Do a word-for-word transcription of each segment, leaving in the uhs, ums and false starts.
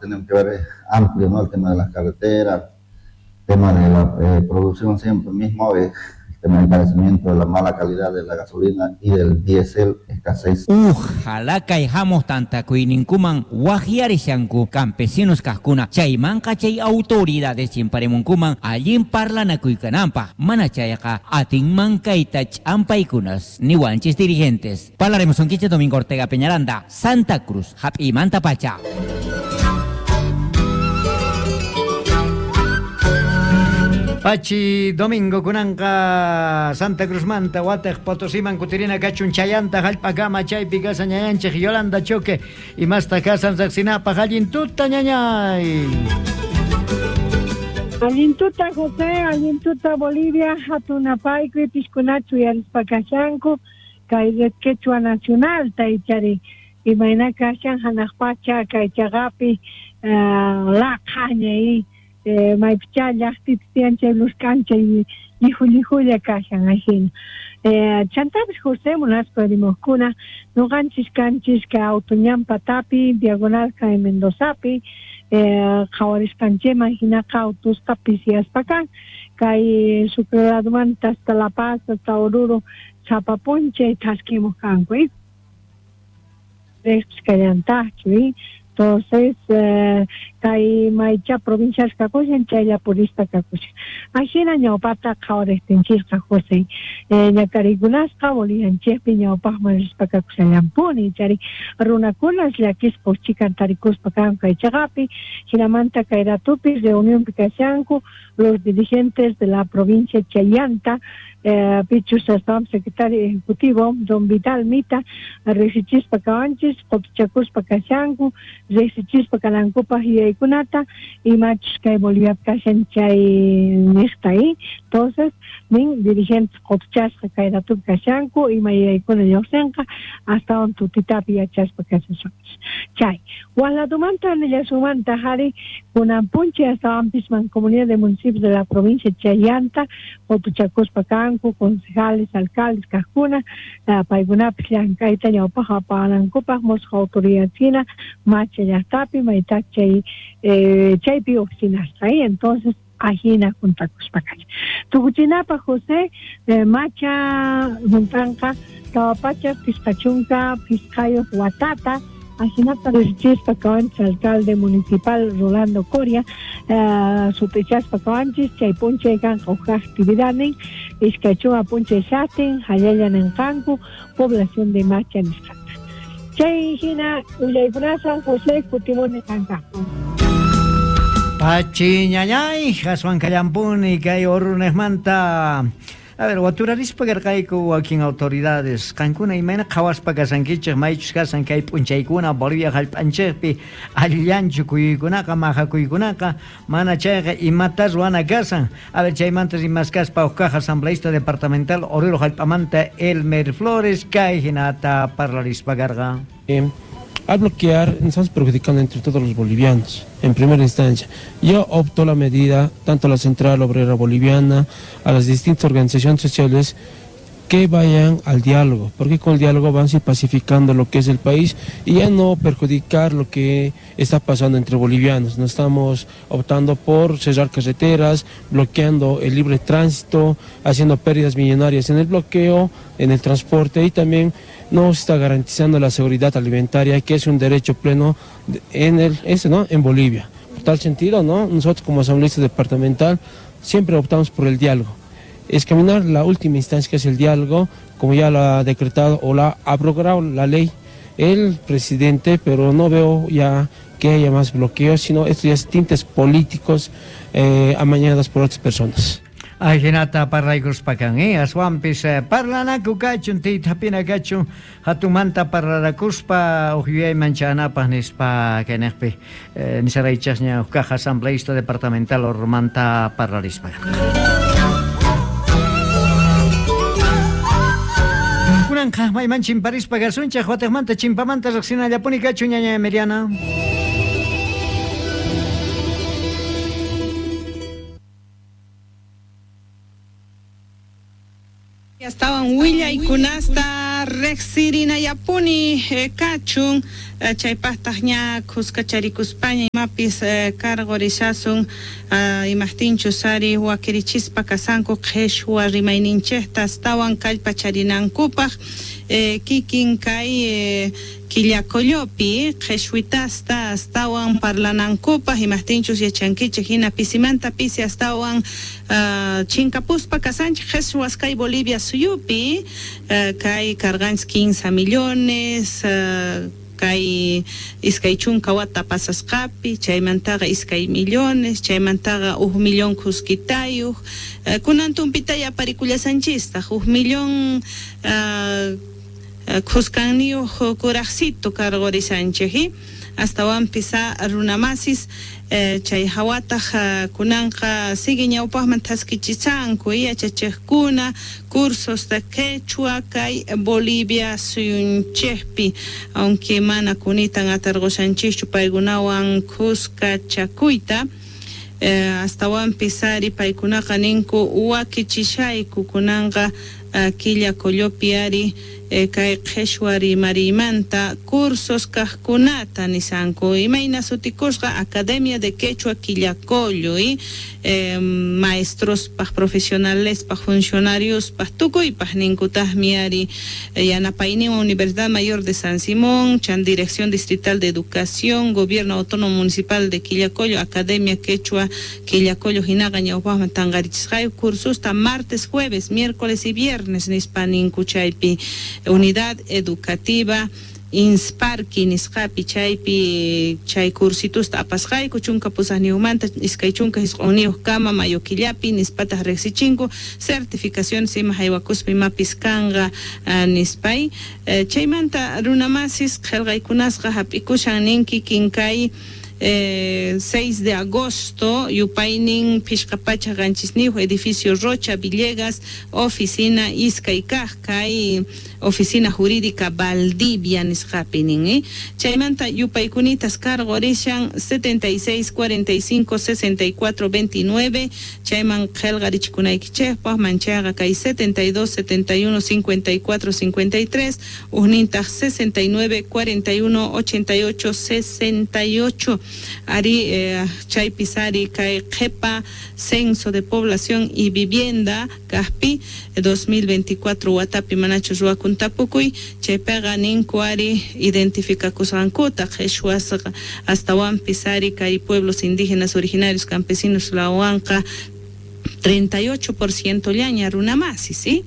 Tenemos que ver amplio, ¿no? El tema de las carreteras, el tema de la eh, producción siempre mismo, eh, el tema del encarecimiento de la mala calidad de la gasolina y del diésel, escasez. Ojalá kayjamos tantakuyninkuman waqyarishanku campesinos kajkuna chaymanqa chay autoridades chimparemunkuman allin parlanakuykananpaq mana chayqa atinman kayta ch'ampaykunas niwanchis dirigentes. Parlaremos sonquiche Domingo Ortega Peñaranda, Santa Cruz, Jap'imanta pacha. Pachi Domingo kunanqa Santa Cruz manta watej Potosiman kutirina kachun chayanta jallp'akama chaypi kasan ñañanchej Yolanda Choque imasta kasan riqsinapaq allin tuta ñañay. Allin tuta José, allin tuta Bolivia, hatunapayku piskunachu yarispa kashanku kay Red Quechua Nacional taychari imayna kashan hanaq pacha kay chaqapi uh, laqhaña y Eh, maypicha llaqtita tiyan chay luskan chay llihu llihulla kashan ajina. Eh, chantapis José munaspa rimaqkuna nuqanchis kanchis kay Autoñan patapi diagonal kay Mendozapi eh, qhawarisqanchikman hinaqa autusqa pisiyaspa kan kay Sucre ladomanta hasta La Paz hasta Oruro sapa p'unchay thaskimuq kanku eh. Kallantaqchu eh. Entonces, eh, kay maycha provincias kakushan chaylla purista kakushan. Ajina ñawpata qhawarijtinchisqa José. Eh, ñakarikunasqa Bolivianchikpi ñawpaqman rispa kakushallampuni chari runakunas llakispa uchikan tarikuspa kanku kay chaqapi hinamanta kay ratupi reunionpi kashanku los dirigentes de la provincia Chayanta eh, pichus astawan secretario ejecutivo don Vital Mita riqsichispa kawanchis qutuchakuspa kashanku riqsichispa kanankupaq yuyaykunata imachus kay Boliviapi kashan chay niqta eh. Entonces nin dirigentes qutuchasqa kay ratupi kashanku ima yuyaykuna lluqsinqa astawan tutitapi yachaspa kashasunchis chay waq ladomanta nillasunmanta jari kunan p'unchay astawanpis mancomunidad de municipios de la provincia Chayanta qutuchakuspa kanku concejales, alcaldes kajkuna paykunapis llank'ayta ñawpaq apanankupaq mushuq autoridad hina macha llaqtapi maytaq chay eh, chaypi oficinasqa eh. Entonces ajina juntakuspa kashan tukuchinapaq José eh, macha juntanqa tawa pachak pisqa chunka pisqayuq watata ajinata riqsichispa kawanchis alcalde municipal Rolando Coria uh, sutichaspa kawanchis chay p'unchay kanqa huk actividadnin iskay chunka p'unchay shatin hallalla ninqanku población de Macha nisqata chay hina willaykunasan José kutimuni kanqaku. Pachi ñañay aswan kallampuni kay Orunejmanta. A ver, waturarispa karqayku wakin autoridades qankuna imayna qhawaspa kasankichik maychus kasan kay p'unchaykuna Bolivia hallp'anchikpi allillanchu kuyuykunaqa maqakuykunaqa mana chayqa imata ruwana kasan. A ver, chaymanta rimaskaspa huk kaq asambleísta departamental Oruro hallp'amanta Elmer Flores kay hinata parlarispa karqa. Eh, al bloquear nos estamos perjudicando entre todos los bolivianos, en primera instancia. Yo opto la medida, tanto a la Central Obrera Boliviana, a las distintas organizaciones sociales, que vayan al diálogo, porque con el diálogo van a ir pacificando lo que es el país y ya no perjudicar lo que está pasando entre bolivianos. No estamos optando por cerrar carreteras, bloqueando el libre tránsito, haciendo pérdidas millonarias en el bloqueo, en el transporte, y también no se está garantizando la seguridad alimentaria, que es un derecho pleno en, el, ese, ¿no? en Bolivia. Por tal sentido, ¿no? Nosotros como asambleísta departamental siempre optamos por el diálogo. Es caminar la última instancia, que es el diálogo, como ya lo ha decretado o la ha abrogado la ley el presidente, pero no veo ya que haya más bloqueos, sino estos ya es tintes políticos eh, amañadas por otras personas. Ajinata parlaykuspakan, eh? Aswanpis parlanaku kachun, tiytapina kachun, hatunmanta parlarakuspa uj yuyayman chanapaq nispa kayniqpi eh, nisaraychasña uj kaq asambleísta departamental Ormanta parlarispa. Kunanqa mayman chimparispa kasunchaq wataqmanta chimpamanta riqsinallapuni kachun ñaña Emiliana. Estaban willaykunasta Rejsirinayapuni kachun chaypaqtaq ña khuskacharikuspaña imapis karqurisasun imaqtinchus ari wakirichispa kasanku qhishwa rimayninchikta astawan kallpacharinankupaq kikin kay Quillacollopi qhishwitasta astawan parlanankupaq imaqtinchus yachankichik hina pisimanta pisi astawan chinkapuspa kasanchik qhishwas kay Bolivia suyupi kay karqanchik quince millones kay iskay chunka wata pasasqapi chaymantaqa iskay millones chaymantaqa huk millón khuskitayuq kunan tumpitay aparikullasanchistaq huk millón khuskaniyuq kuraqsito karqurisanchik astawanpis runamasis chay hawataq kunanqa sigue ñawpaqman thaskichisanku yachachiqkuna cursos de quechua kay Bolivia suyunchikpi aunque mana kunitan atarqushanchischu paykunawan khuskachakuyta astawanpis ari paykunaqa ninku wakichishayku kunanqa Quillacollopi ari kay qhishwa rimarimanta cursos kaqkunata nisanku imayna sutikusqa Academia de Quechua Quillacollo y eh, maestrospaq profesionalespaq funcionariospaq tukuypaq ninkutaqmi ari yanapayninwan Universidad Mayor de San Simón chan Dirección Distrital de Educación Gobierno Autónomo Municipal de Quillacollo Academia Quechua Quillacollo hinaqa ñawpaqman tanqarichisqayu cursosta martes, jueves, miércoles y viernes nispa ninku chaypi Unidad Educativa Insparki nisqapi chaypi chay cursitusta apasqayku chunka pusaqniyuqmanta iskay chunka isq'unniyuq kama mayo killapi nispataq riqsichinku certificaciones ima haywakuspa imapis kanqa nispay chaymanta runamasis qillqaykunasqa hap'ikushan ninki kinkay Eh, seis de agosto, yupaynin phishqa pacha qanchisniyuq edificio Rocha Villegas, oficina iskay kaq kay oficina jurídica Valdivia nisqapi nin eh? Chaymanta yupaykunitas karqurishan setenta y seis, cuarenta y cinco, sesenta y cuatro, veintinueve chayman qillqarichikunaykichikpaq manchayqa kay setenta y dos, setenta y uno, cincuenta y cuatro, cincuenta y tres ujnintaq sesenta y nueve, cuarenta y uno, ochenta y ocho, sesenta y ocho ari eh, chaypis ari kay qhipa censo de población y vivienda kaqpi dos mil veinticuatro watapi manachus ruwakun tapukuy chaypiqa ninku ari identificakusqankuta qhishwasqa astawanpis ari kay pueblos indígenas originarios campesinos lawanqa treinta y ocho por ciento llaña runamasi, ¿sí?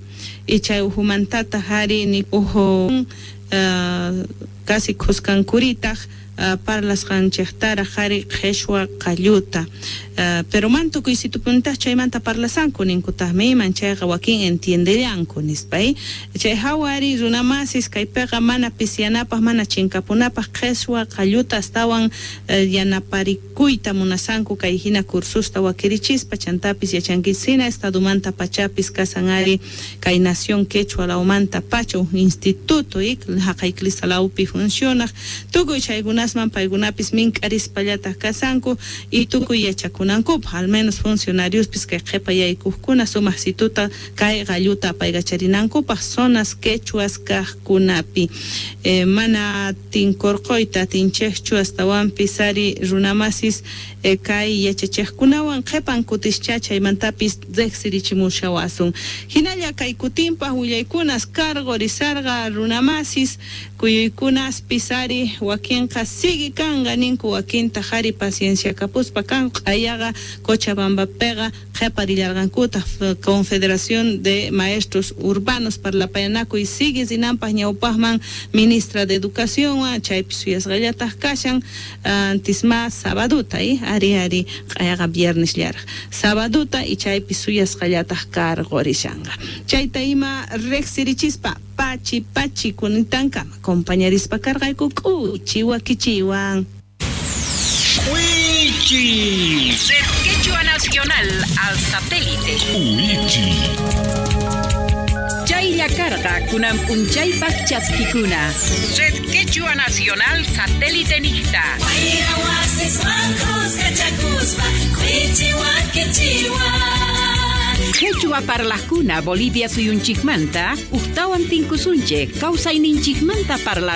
Y chay ujumantataq ari ni uju uh, casi khuskankuritaq Uh, parlasqanchiktaraq ari qhishwa qalluta uh, pero man tukuysitupunitaq chaymanta parlasanku ninkutaqmi iman chayqa wakin entiendellanku nispa chay hawa ari runamasis kaypiqa mana pisyanapaq mana chinkapunapaq qhishwa qalluta astawan uh, yanaparikuyta munasanku kay hina cursusta wakirichispa chantapis yachankisina estadumanta pachapis kasan ari kay nación quechua lawmanta pacha uj instituto haqay clisalawpi funcionaq tukuy chaykuna asman paykunapis mink'arispallataq kasanku y tukuy yachakunankupaq al menos funcionariospis kay qhipa yaykuqkuna sumaqsituta kay qalluta apaykacharinankupaq zonas quechuas kaqkunapi eh, mana tinkurquyta atinchikchu astawanpis ari runamasis eh, kay yachachiqkunawan qhipan kutischa chaymantapis riqsirichimushawasun hinalla kay kutinpaq willaykunas karqurisarqa runamasis kuyuykunaspis ari wakinqa sigue kanqa ninku wakinta ari paciencia kapuspa kan q'ayaqa Cochabambapiqa qhiparillarqankutaq Confederación de Maestros Urbanos parlapayanakuy sigue rinanpaq ñawpaqman ministra de Educación chaypi suyasqallataq kashan antisma sabaduta eh? Ari ari q'ayaqa viernes llaraq sabaduta y chaypi suyasqallataq karqurishanqa chayta ima riqsirichispa pachi pachi kunitankama compañarispa karqayku k'uchi wakichiwan. Uichi. Red Quechua Nacional al satélite. Uichi. Chaylla karqa kunan p'unchaypaq chaskikuna. Red Quechua Nacional satélite niqta. Wayra wasiswan khuskachakuspa k'uchi wakichiwan. Quechua parlajkuna Bolivia suyunchikmanta, ujtawan tinkusunchik, kawsayninchikmanta parla